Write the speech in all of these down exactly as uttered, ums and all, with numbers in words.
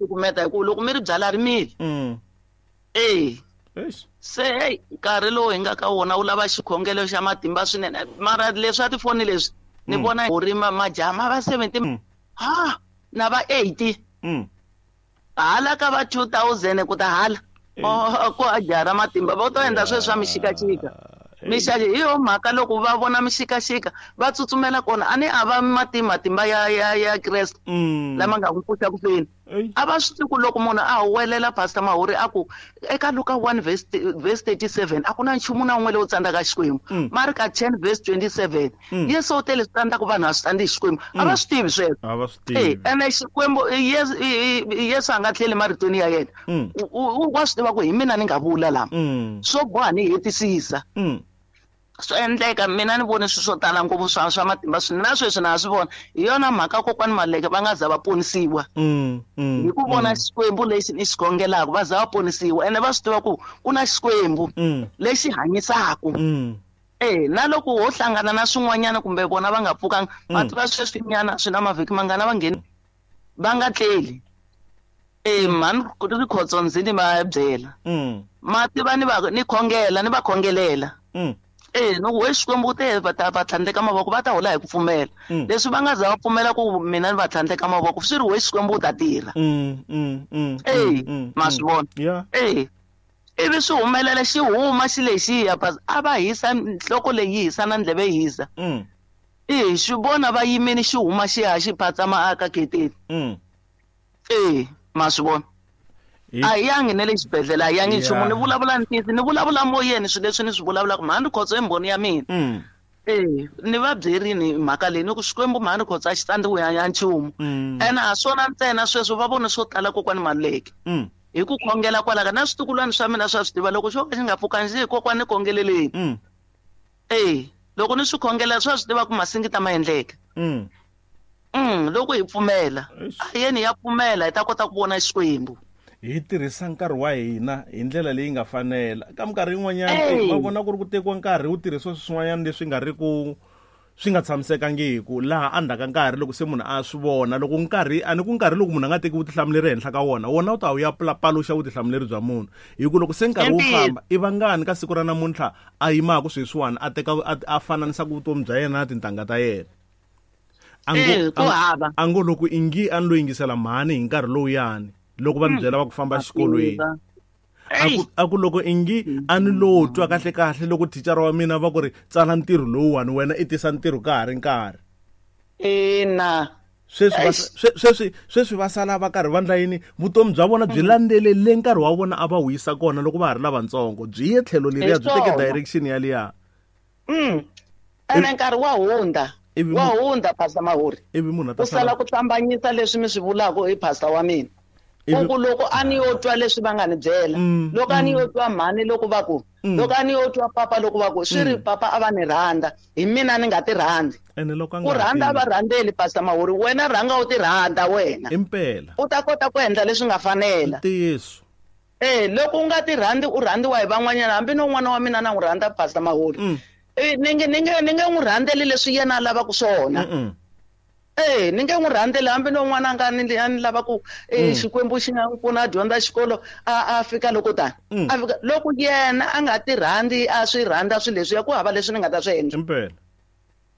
Cukumeta hi ku loko mi ri byala ri mili. Mm. Eh. Eish. Se hey, nkarhi lowu hi nga ka wona wu lava xikhongelo xa matimba swinene. Mara leswi a tifoni leswi ni Mm. vona ri ma majaha ma va seventy Mm. ha na va eighty Mm. hala ka va two thousand ku ta hala Eh. oh, ku a jaha ra matimba va to endla sweswi swa mixikaxika. Eh. Mixaka hi yo mhaka loko va vona mixikaxika va tsutsumela kona a ni a va mati matimba ya ya ya Kreste Mm. lama nga n'wi pfuxa ku feni. Ey. A va swi tivi ku loko munhu a huwelela Pastor Mahuri a ku eka Luka one verse verse thirty-seven a ku na nchumu na wun'we lowu tsandzaka Xikwembu. Mm. Marka ten verse twenty-seven Mm. Yesu u tele swi tsandzaka vanhu a swi tsandzi hi Xikwembu. A va Mm. swi tivi sweswo. A va swi Eh, tivi. ene Xikwembu Yesu, Yesu a nga tlheli maritweni ya yena. Mm. U, u, wa swi tiva ku hi mina ni nga vula lama. Mm. Swo boha ni hetisisa. Mm. Swi endleka mina ni vone swilo swo tala ngopfu swa, swa matimba swinene na sweswi na ha swi vona. Hi yona mhaka kokwani Maluleke va nga za va ponisiwa. Mm, mm, Hi ku vona mm. Xikwembu lexi ni xi khongelaka va za va ponisiwa ene va swi tiva ku ku na Xikwembu Mm. lexi hanyisaka. Mm. Eh, na loko ho hlangana na swin'wanyana kumbe vona va nga pfukanga, Mm. va tiva sweswi nyana swi na mavhiki mangana va ngheni va nga tleli. Eh, mhani Rikhotso ndzi ni va byela. Mm. Ma tiva ni va ni khongela ni va khongelela. Mm. Eh, no we Xikwembu te va ta va tlhandleka mavoko va ta hola hi ku pfumela. Mm. Leswi va nga za va pfumela ku mina ni va tlhandleka mavoko swi ri we Xikwembu u ta tirha. Mm, mm, mm, Eh, mm, ma mm. swi vona. Yeah. Eh, ivi swi humelela xi huma xi lexiya pas a va hisa nhloko leyi yi hisa na ndleve yi hisa. Mm. Eh, xi vona va yimile xi huma xi ya xi phatsama aka geteni. Mm. Eh, ma swi vona. Hi- A hi yangi na le xibedhlele, a hi yangi nchumu. Yeah. Ni vulavula ntiyiso, ni vulavula moyeni swilo leswi ni swi vulavulaka. Mhani Rikhotso i mbhoni ya mina. Mm. Eh, ni va byerini hi mhaka leyi ni ku Xikwembu mhani Rikhotso a xi tsandziwi ya nchumu. Mm. Ene a swona ntsena sweswo va vone swo tala kokwani Maluleke. Mm. Hi ku khongela kwalaka na switukulwana swa mina swa swi tiva loko xo ka xi nga pfukanga xi hi kokwani ni khongeleleni. Mm. Eh, loko ni swi khongela swa swi tiva ku masingita ma endleka. Mm. Mm, loko hi pfumela. Eish. A yeni ya pfumela hi ta kota ku vona Xikwembu. Hi tirhisa nkarhi wa hina hi ndlela leyi nga fanela. Ka minkarhi yin'wanyana, Ey. eh, va vona ku ri ku tekiwa nkarhi wu tirhisiwa swilo swin'wanyana leswi nga ri ku swi nga tshamisekangiki laha endzhaku ka nkarhi loko se munhu a swi vona loko nkarhi a ni ku nkarhi loko munhu a nga teki vutihlamuleri ehenhla ka wona wona wu ta wu ya pla-, paluxa vutihlamuleri bya munhu hi ku loko se nkarhi wu Indeed. famba i vangani ka siku ra namuntlha a yimaka sweswiwani a teka a, a fananisaka vutomi bya yena na tintangha ta yena. A ngo, Eh, ku a ngo, hava. a ngo loko ingi a ni lo yingisela mhani hi nkarhi lowuyani loko va ni byela va ku famba A exikolweni. tiva. A ku, a ku loko ingi a ni lo twa kahle kahle loko thicara wa mina va ku ri tsala ntirho lowuwani wena i tisa ntirho ka ha ri nkarhi. Ina. Sweswi va Eish. swe-, sweswi, sweswi va sala va karhi va ndla yini? Vutomi bya vona byi landzelele nkarhi wa vona a va wu yisa kona loko va ha ri lavatsongo. Byi ye tlhelo leriya, byi teke Hi swona. direction ya liya. Mm. Ene nkarhi wa hundza. Ivi Wa mu- hundza, Pastor Mahuri. Ivi munhu a ta U sala sala ku hlambanyisa leswi mi swi vulaka hi pastor wa mina. Ivi Ku ku loko a ni yo twa leswi va nga ni byela, Mm, loko a ni mm. yo twa mhani loko va ku, Mm. loko a ni yo twa papa loko va ku, swi ri Mm. papa a va ni rhandza, hi mina ni nga ti rhandzi. Ene loko a Ku nga ha rhandza tivi. va rhandzeli, Pastor Mahuri, wena rhanga u ti rhandza wena. Impela. U ta kota ku endla leswi nga fanela. Ntiyiso. Eh, loko u nga ti rhandzi u rhandziwa hi van'wanyana, hambi no n'wana wa mina na n'wi rhandza Pastor Mahuri. Mm. Eh, ni nge, ni nge, ni nge n'wi rhandzeli leswi yena a lavaka swona. Mm-mm. Eh, ni nge n'wi rhandzeli hambi no n'wana a nga ni, a ni lava ku, eh, Mm. Xikwembu xi nga n'wi pfuna a dyondza xikolo, a, a fika loko tani. Mm. A fika loko yena a nga ti rhandzi, a swi rhandza swilo leswiya, ku hava leswi ni nga ta swi endla. Impela.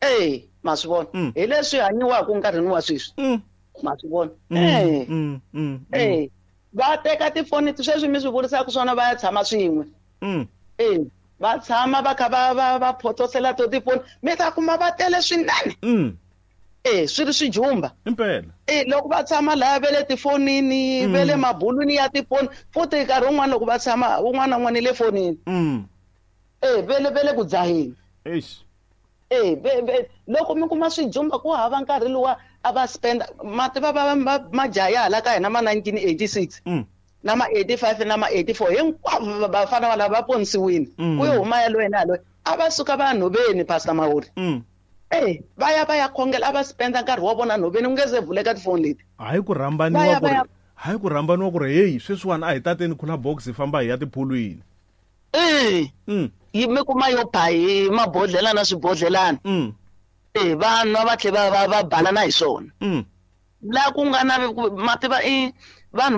Eh, ma swi vona. Mm. Hi leswi hanyiwaka nkarhini wa sweswi. Mm. Ma swi vona. Mm, Eh. mm, mm, mm. Eh, va teka tifoni sweswi mi swi vurisaka swona va ya tshama swin'we. Mm. Eh, va tshama va kha va, va, va photosela to tifoni, mi ta kuma va tele swinene. Mm. Eh, swi ri swijumba. Impela. Eh, loko va tshama laya ve le tifonini, Mm. ve le mabulwini ya tifoni, futhi nkarhi wun'wani loko va tshama un'wana na un'wana le fonini. Mm. Eh, ve le, ve le ku dzaheni. Eish. Eh, ve, ve, loko mi kuma swijumba ku hava nkarhi luwa a va spend, ma tiva va, va, majaha ya hala ka hina ma nineteen eighty-six. Mm. Na ma eighty-five na ma eighty-four hinkwavo va, vafana valava va ponisiwile. Mm. Ku yo huma yaloye na yaloye. A va suka va ya nhoveni, Pastor Mahuri. Mm. Eh, va ya va ya khongela, a va spenda nkarhi wa vona nhoveni, ku nge se vuleka tifoni leti. Hayi ku rhambaniwa Va ya ku ri va ya hayi ku rhambaniwa ku ri, hey, sweswiwani a hi tateni cooler box hi famba hi ya tiphulwini. Eh. Mm. Yi mi kuma yo ba hi mabodhlelana na swibodhlelana. Mm. Eh, va nwa va tlhela va, va, va balana hi swona. Mm. La ku nga na ku, ma tiva i,